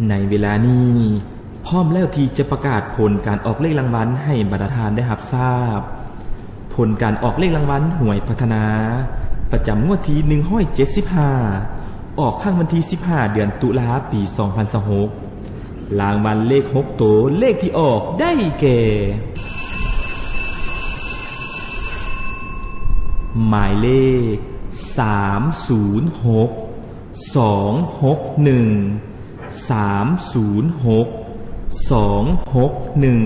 ໃນເວລານີ້ ພ້ອມແລ້ວທີ່ຈະປະກາດຜົນການອອກເລກລາງວັນໃຫ້ບັນດາທ່ານໄດ້ຮັບຊາບ. ຜົນການອອກເລກລາງວັນຫວຍພັດທະນາ ປະຈຳງວດທີໜຶ່ງຮ້ອຍເຈັດສິບຫ້າ ອອກຄັ້ງວັນທີສິບຫ້າ ເດືອນຕຸລາ ປີສອງພັນຊາວຫົກ. ລາງວັນເລກຫົກໂຕ ເລກທີ່ອອກໄດ້ແກ່ ໝາຍເລກ ສາມສູນຫົກ ສອງຫົກໜຶ່ງ ສາມສູນຫົກ ສອງຫົກໜຶ່ງ.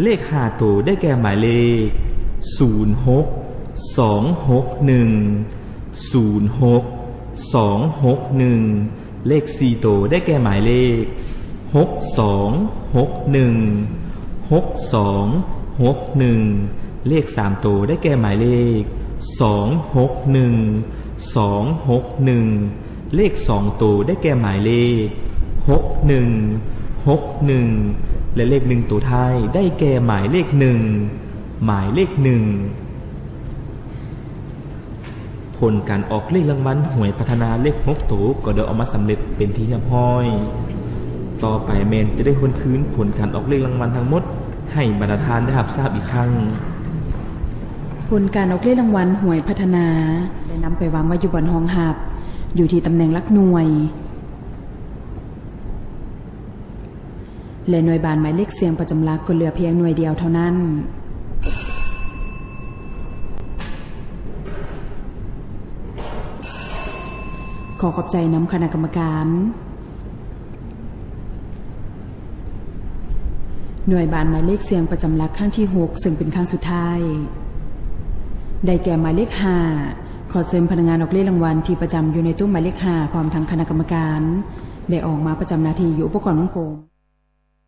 ເລກຫ້າໂຕໄດ້ແກ່ໝາຍເລກ ສູນຫົກ ສອງຫົກໜຶ່ງ ສູນຫົກ ສອງຫົກໜຶ່ງ. ເລກສີ່ໂຕໄດ້ແກ່ໝາຍເລກ ຫົກສອງຫົກໜຶ່ງ ຫົກສອງຫົກໜຶ່ງ. ເລກສາມໂຕໄດ້ແກ່ໝາຍເລກ ສອງຫົກໜຶ່ງ ສອງຫົກໜຶ່ງ. ເລກສອງໂຕໄດ້ແກ່ໝາຍເລກ ຫົກໜຶ່ງ ຫົກໜຶ່ງ ແລະ ເລກໜຶ່ງໂຕທ້າຍໄດ້ແກ່ໝາຍເລກໜຶ່ງ ໝາຍເລກໜຶ່ງ. ຜົນການອອກເລກລາງວັນຫວຍພັດທະນາເລກຫົກໂຕກໍໄດ້ອອກມາສຳເລັດເປັນທີ່ຮຽບຮ້ອຍ. ຕໍ່ໄປແມ່ນຈະໄດ້ທວນຄືນຜົນການອອກເລກລາງວັນທັງໝົດໃຫ້ບັນດາທ່ານໄດ້ຮັບຊາບອີກຄັ້ງ. ຜົນການອອກເລກລາງວັນຫວຍພັດທະນາໄດ້ນຳໄປວາງໄວ້ຢູ່ບ່ອນຮອງຮັບ ຢູ່ທີ່ຕຳແໜ່ງຫຼັກໜ່ວຍ ແລະ ໜ່ວຍບານໝາຍເລກສ່ຽງປະຈຳຫຼັກກໍເຫຼືອພຽງໜ່ວຍດຽວເທົ່ານັ້ນ. ຂໍຂອບໃຈນຳຄະນະກຳມະການ. ໜ່ວຍບານໝາຍເລກສ່ຽງປະຈຳຫຼັກຄັ້ງທີຫົກ ເຊິ່ງເປັນຄັ້ງສຸດທ້າຍ ໄດ້ແກ່ໝາຍເລກຫ້າ. ຂໍເຊີນພະນັກງານອອກເລກລາງວັນທີ່ປະຈຳຢູ່ໃນໂຕະໝາຍເລກຫ້າ ພ້ອມທັງຄະນະກຳມະການ ໄດ້ອອກມາປະຈຳໜ້າທີ່ຢູ່ອຸປະກອນວົງກົມ.